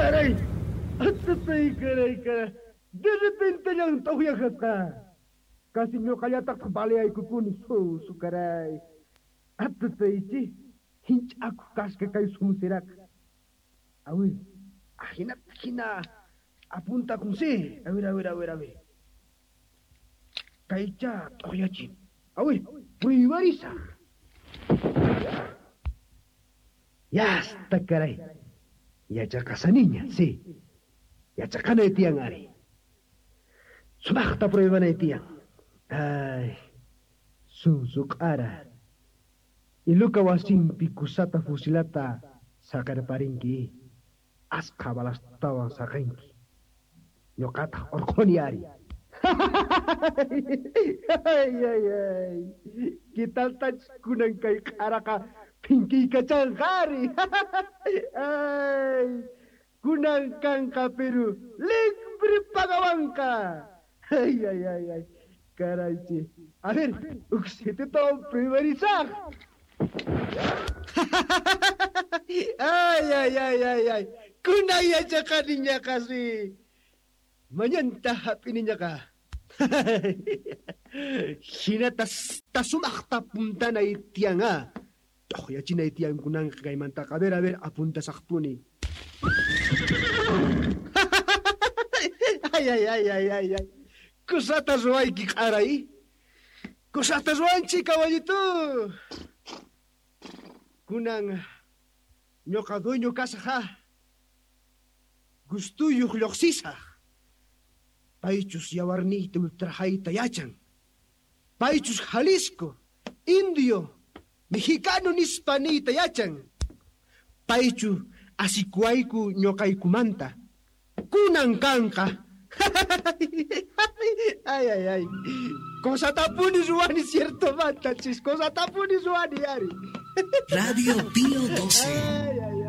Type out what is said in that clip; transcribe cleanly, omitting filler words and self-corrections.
Caray! Atatay, caray, caray. De repente llan t'uqyajasqa. Casi ñuqallataqtaq baleaykukuni susu, caray. Atataychi, hinch'akuq kasqa kay sunsiraqa. Awir, ajinata hina apuntakun si. Awir, awir, awir, awir. Kaycha t'uqyachin. Awir, puywarisaq. Yasta, caray. Yachaqasaniña, sí. Yachaqanay tiyan ari. Sumaqta pruebanay tiyan. Ay, sunsu q'ara. Iluka wasinpi kusata fusilata saqerparinki. Asqa balastawan saqenki. Ñuqataq urquni ari. Ay, ay, ay. ¿Qué tal kunan kay q'araqa phinkiykachaqa ari? Ay, kunan kanqa Perú libre pagawanqa. Ay, ay, ay, ay. Caraychi. A ver, uksititawan pruebarisaq. Ay, ay, ay, ay, ay. Kunan yachaqaniñaqa si. Mañanta hap'iniñaqa. Hinata sumaqta puntanay tiyan a. T'uqyachinay tiyan kunanqa kaymantaqa. A ver, apuntasaqpuni. Ay, ay, ay, ay, ay, ay. Kusata ruwayki q'aray. Kusata ruwanchik, caballito. Kunan ñuqa dueño kasaq ha. Gustuyuq lluqsisaq. Paychus yawarniyta ultrajayta yachan. Paychus Jalisco, indio, mexicano nispa niyta yachan. Paychu asikuayku ñuqaykumanta. Kunan kanqa. Ay, ay, ay. Cosatapuni ruwani cierto manta, chis. Cosatapuni ruwani, ari. Radio Pío 12. Ay, ay,